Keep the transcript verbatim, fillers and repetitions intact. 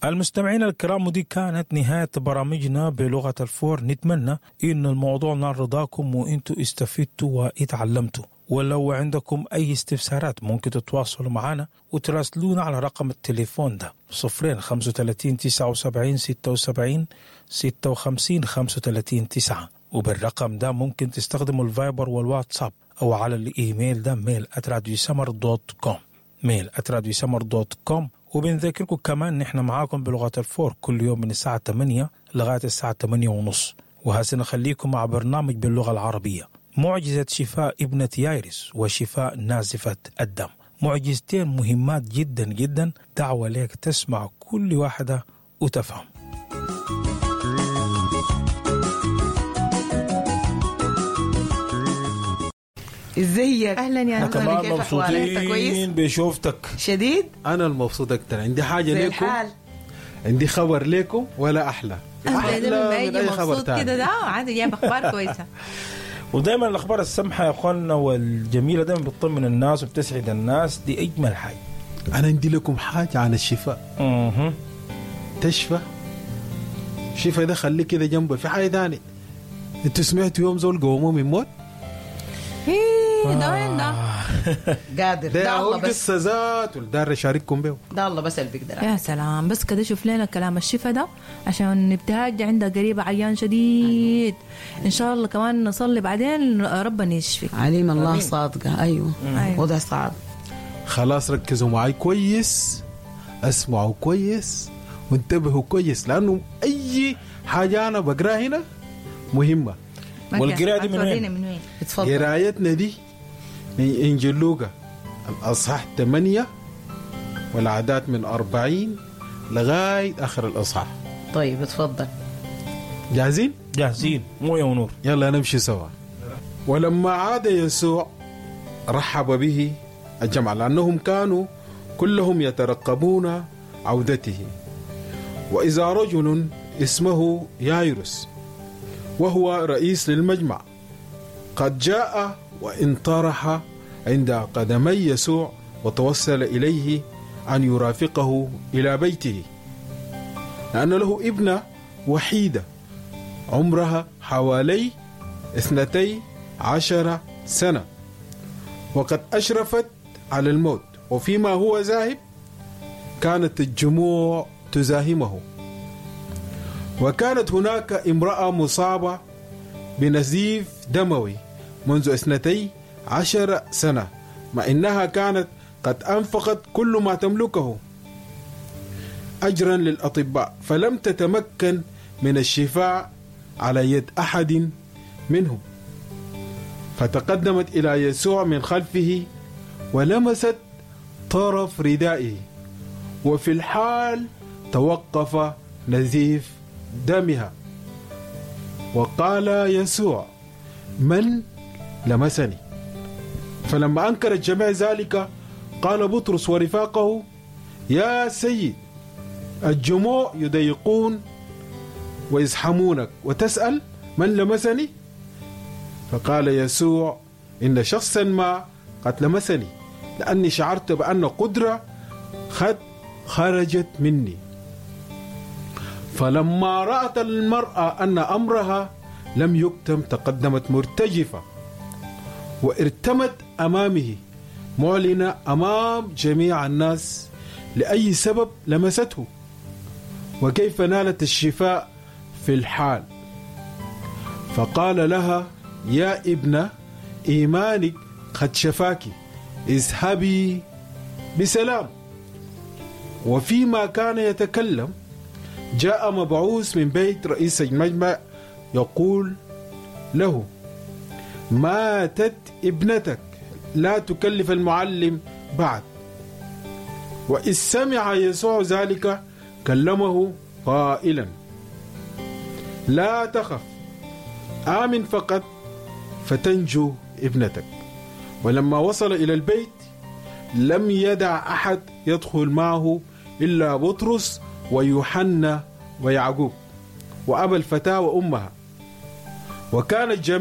المستمعين الكرام، ودي كانت نهاية برامجنا بلغة الفور. نتمنى إن الموضوع نال رضاكم وإنتوا استفدتوا واتعلمتوا. ولو عندكم أي استفسارات ممكن تتواصلوا معنا وتراسلونا على رقم التليفون ده صفرين خمسة وتلاتين تسعة وسبعين ستة وسبعين ستة وخمسين خمسة وتلاتين تسعة، وبالرقم ده ممكن تستخدموا الفايبر والواتساب أو على الإيميل ده mail at راديو سمر dot com، mail at راديو سمر dot com. وبنذكركم كمان نحن معاكم بلغة الفور كل يوم من الساعة تمانية لغاية الساعة تمانية ونص. وهسه نخليكم مع برنامج باللغة العربية، معجزة شفاء ابنة يايرس وشفاء نازفة الدم، معجزتين مهمات جدا جدا. دعوة لك تسمع كل واحدة وتفهم. ازيك؟ اهلا يا أهلاً. تمام، كيف أحوالك؟ أنت كويس؟ مبسوطين بشوفتك. شديد؟ انا المبسوط اكتر. عندي حاجه زي لكم، الحال. عندي خبر لكم ولا احلى. أحلى لما من يجي أي خبر مبسوط تاني. كده ده عادي جايب اخبار كويسه. ودايما الاخبار السمحه يا اخواننا والجميله دايما بتطمن الناس وبتسعد الناس، دي اجمل حاجه. انا عندي لكم حاجه عن الشفاء. اها تشفى شفاء ده خليه كده جنبه. في حاجه ثانيه، انتوا سمعتوا يوم زول قوموه من موت؟ إيه ده وين ده؟ قادر ده ده هو الله بس، القصه ذاته اللي دار اشارككم به. ده الله بس اللي بيقدر. يا سلام، بس كده شوف لنا كلام الشفا ده عشان ابتهاج عندها قريبة عيان شديد. ان شاء الله كمان نصلي بعدين ربنا يشفي. عليم الله صادقة. أيوة. أيوة. وضع صعب. خلاص ركزوا معي كويس، اسمعوا كويس وانتبهوا كويس، لانه اي حاجه انا بقراها هنا مهمه. والقراءة دي من وين؟ هتورينا من وين؟ اتفضل. قرايتنا دي من انجيل لوقا الاصحاح ثمانية والعادات من أربعين لغايه اخر الاصحاح. طيب اتفضل. جاهزين؟ جاهزين مويه ونور. يلا نمشي سوا. ولما عاد يسوع رحب به الجمع، لأنهم كانوا كلهم يترقبون عودته. وإذا رجل اسمه يايروس وهو رئيس للمجمع قد جاء وانطرح عند قدمي يسوع وتوسل إليه أن يرافقه إلى بيته، لأن له ابنة وحيدة عمرها حوالي اثنتي عشر سنة وقد أشرفت على الموت. وفيما هو ذاهب كانت الجموع تزاحمه. وكانت هناك امرأة مصابة بنزيف دموي منذ اثنتي عشر سنة، مع إنها كانت قد أنفقت كل ما تملكه أجرا للأطباء، فلم تتمكن من الشفاء على يد أحد منهم. فتقدمت إلى يسوع من خلفه ولمست طرف ردائه، وفي الحال توقف نزيف دمها. وقال يسوع: من لمسني؟ فلما أنكر الجميع ذلك قال بطرس ورفاقه: يا سيد، الجموع يضيقون ويزحمونك وتسأل من لمسني؟ فقال يسوع: إن شخصا ما قد لمسني، لأني شعرت بأن قدرة قد خرجت مني. فلما رأت المرأة أن أمرها لم يكتم تقدمت مرتجفة وارتمت أمامه معلنة أمام جميع الناس لأي سبب لمسته وكيف نالت الشفاء في الحال. فقال لها: يا ابنة، إيمانك قد شفاك، اذهبي بسلام. وفيما كان يتكلم جاء مبعوث من بيت رئيس المجمع يقول له: ماتت ابنتك، لا تكلف المعلم بعد. وإذ سمع يسوع ذلك كلمه قائلا: لا تخف، آمن فقط فتنجو ابنتك. ولما وصل إلى البيت لم يدع أحد يدخل معه إلا بطرس ويوحنا ويعقوب وأبا الفتاة وأمها. وكان الجميع